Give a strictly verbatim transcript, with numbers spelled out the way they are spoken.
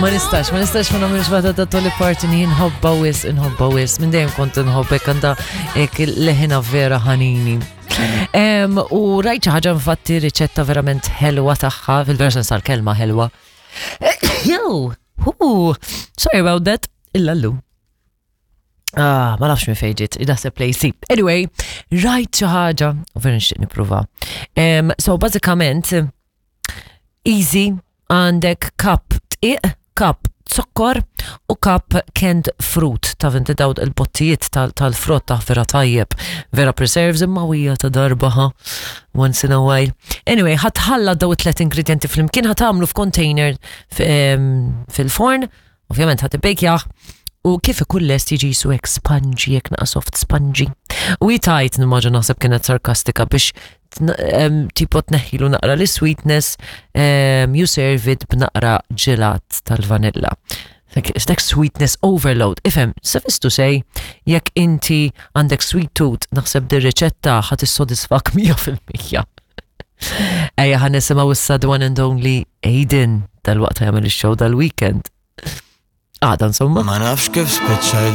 Ma nistax, ma nistax ma nagħmilx waħda ta' Dolly Parton, inħobbha wisq, inħobbha wisq. Minn dejjem kont inħobbek, għandha hekk leħinha vera ħanini. Em, u rajt xi ħaġa, infatti, riċetta verament ħelwa tagħha, fil-vera sens tal-kelma ħelwa. Yo, hu, sorry about that, illa llum. Ah, ma nafx minn fejn ġiet, naħseb lejsi. Anyway, rajt xi ħaġa, u vera nixtieq nipprova. Um, so bażikament, easy, għandek cup dqiq, cup zokkor u cup canned fruit. Taf inti dawn il-bottijiet tal-frott ta' vera tajjeb, vera preserves, imma wija ta' darba, ha, once in a while. Anyway, ħa tħallat daw it-tlet ingredienti flimkien, ħa tagħmlu f'container fil-forn, ovvjament ħa tibbejkjah, u kif ikun lest jiġi jisu hekk spongy, hekk naqa soft spongy. U jitajt nimmaġina, naħseb kienet sarkastika, biex tipo tneħħilu naqra li sweetness, um, you serve it b'naqra ġelat tal-vanilla. It's like sweetness overload. Ifhem, suffice to say, jekk inti għandek sweet tooth, naħseb dir riċetta ħa tissodisfak mija fil-mija. Ejja ħa nisimgħu issa the one and only Aiden, dal-waqt jagħmel ix-show dal-weekend. Għada, insomma. Ma nafx kif spiċċajt.